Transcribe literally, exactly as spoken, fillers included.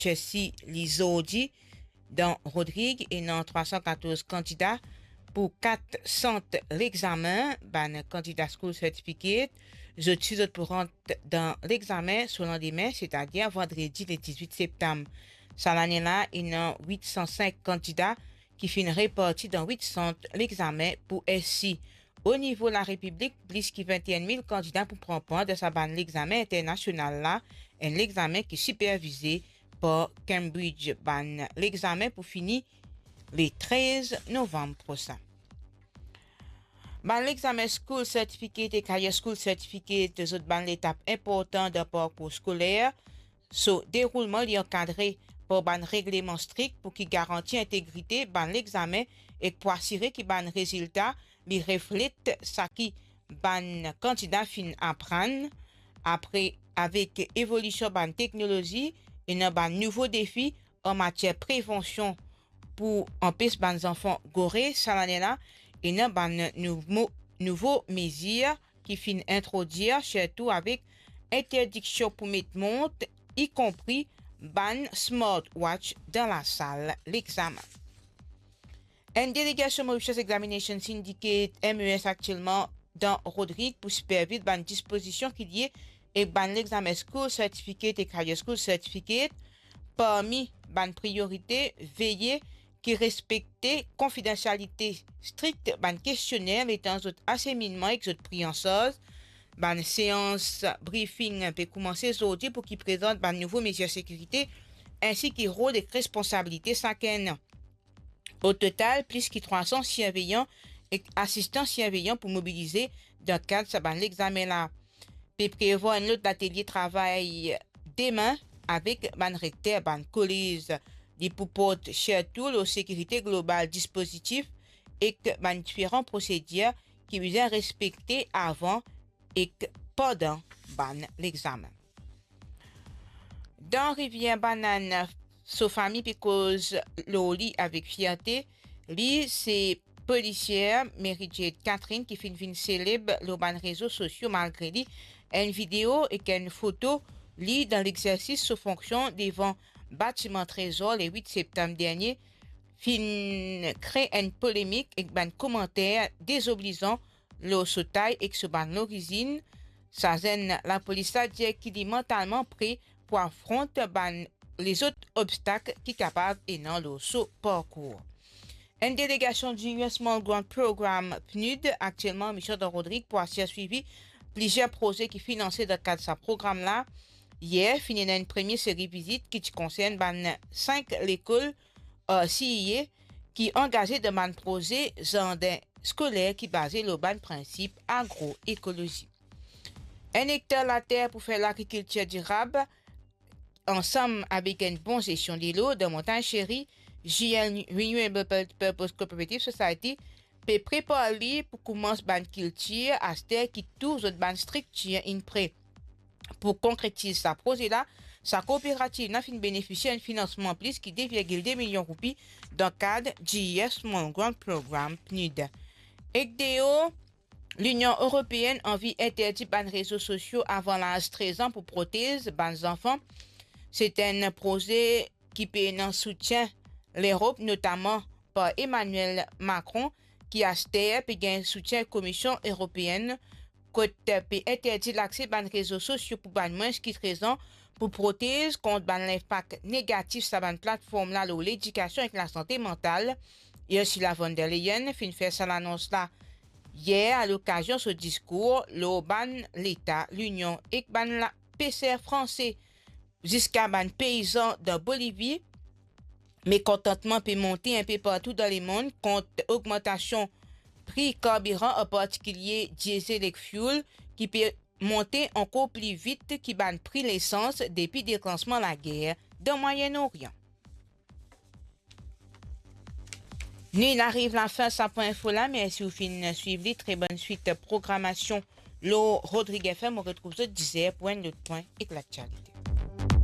Chelsea li zordi dan Rodrig, ena trwa san katorz kandida pou kat sant lexame. Bann kandida School Certificate, zot si zot pou rant dan lexame so landime, setadir vandredi le dizwit septam. Sa lane la, ena wit san sink kandida ki finn reparti dan wit sant lexame pou SC. O nivo larepiblik, plis ki vinte-enn mil kandida pou pran par dan sa bann lexame internasional la, enn lexame ki sipervize par Cambridge. Bann lexame pou fini le trez novam prosin. Bann lexame School Certificate ek Higher School Certificate, zot bann letap inportan dan parkour skoler. So deroulman li ankadre par bann regleman strik pou ki garanti integrite bann lexame ek pou asire ki bann rezilta li reflet saki bann kandida finn aprann. Apre, avek evolision bann teknolozi, ena bann nouvo defi an matier prevansion pou anpes bann zanfan gore. Sa lane la, ena bann nouvo, nouvo mezir ki finn introdir, sirtou avek interdiksion pou met mont, ikonpri bann smartwatch dan lasal lexame. Enn delegasion Mauritius Examination Syndicate, M E S, aktielman dan Rodrig pou siperviz bann dispozision ki lie ek bann lexame School Certificate ek Higher School Certificate. Parmi bann priorite, veye ki respekte konfidansialite strik bann kestionner letan zot aseminnman ek zot pri an sarz. Bann seans briefing pe koumanse zordi pou ki prezant bann nouvo mezir sekirite, ensi ki rol ek responsabilite sakenn. O total, plis ki trwa san sirveyan ek asistan sirveyan pou mobilize dan kad sa bann lexame la. Pe prevwar enn lot latelie travay demin avek bann rekter bann kolez. Li pou port sirtou lor sekirite global dispozitif ek bann diferan prosedir ki bizin respekte avan ek pandan bann lexame. Dan Rivier Banane, so fami pe koz lor li avek fierte. Li se polisier Mary Jade Catherine ki finn vinn seleb lor bann rezo sosio malgre li. Enn video ek enn foto li dan lexersis so fonksion devan batiman Trezor le wit septam dernie finn kre enn polemik ek bann komanter dezoblizan lor so tay ek so bann lorizinn. Sa zenn lapolis la dir ki li mantalman pre pou afront bann lezot obstak ki kapav ena lor so parkour. Enn delegasion du U S Small Grant Program, PNUD, aktielman mision dan Rodrig pou asir swivi plizier proze ki finanse dan kad sa program la. Yer, finn ena enn premie seri vizit ki ti konsern bann sink lekol, eh, C E A ki angaze dan bann proze zardin skoler ki baze lor bann prinsip agroekolozi. Enn ektar later pou fer lagrikiltir dirab, ansam avek enn bon zestion delo dan Montagne Chérie, J L Renewable Pur-, Purpose Cooperative Society pe prepar li pou koumans bann kiltir aster ki tou zot bann striktir inn pre. Pou konkretiz sa proze la, sa kooperativ la finn benefisie enn finansman plis ki de virgil de milion roupi dan kad G E F Small Grant Program, PNUD. Ek deor, Linion Eropeenn anvi interdi bann rezo sosio avan laz trez an pou protez bann zanfan. Se enn proze ki pena soutien Lerop, notaman par Emmanuel Macron, ki aster pe gagn soutien Komisie Eropeenn, kot pe interdi lakse bann rezo sosio pou bann mwins ki trez an pou protez kont bann linpak negatif sa bann platform la lor ledikasion ek lasante mantal. Ursula von der Leyen finn fer sa lanons la yer, alokazion so diskour lor bann leta Linion ek bann la-, peser franse ziska bann peizan dan Bolivi. Mekontantman pe monte inpe partou dan lemond kont ogmantasion pri karbiran, an partikilie diesel ek fuel, ki pe monte ankor pli vit ki bann pri lesans depi deklansman lager dan Mwayen Orian. Nou inn ariv lafin sa pwin info la. Mersi ou finn swiv li. Tre bonn swit programasion lor Rodrig F M. Mo retrouv zot dizer pou enn lot pwin ek laktialite.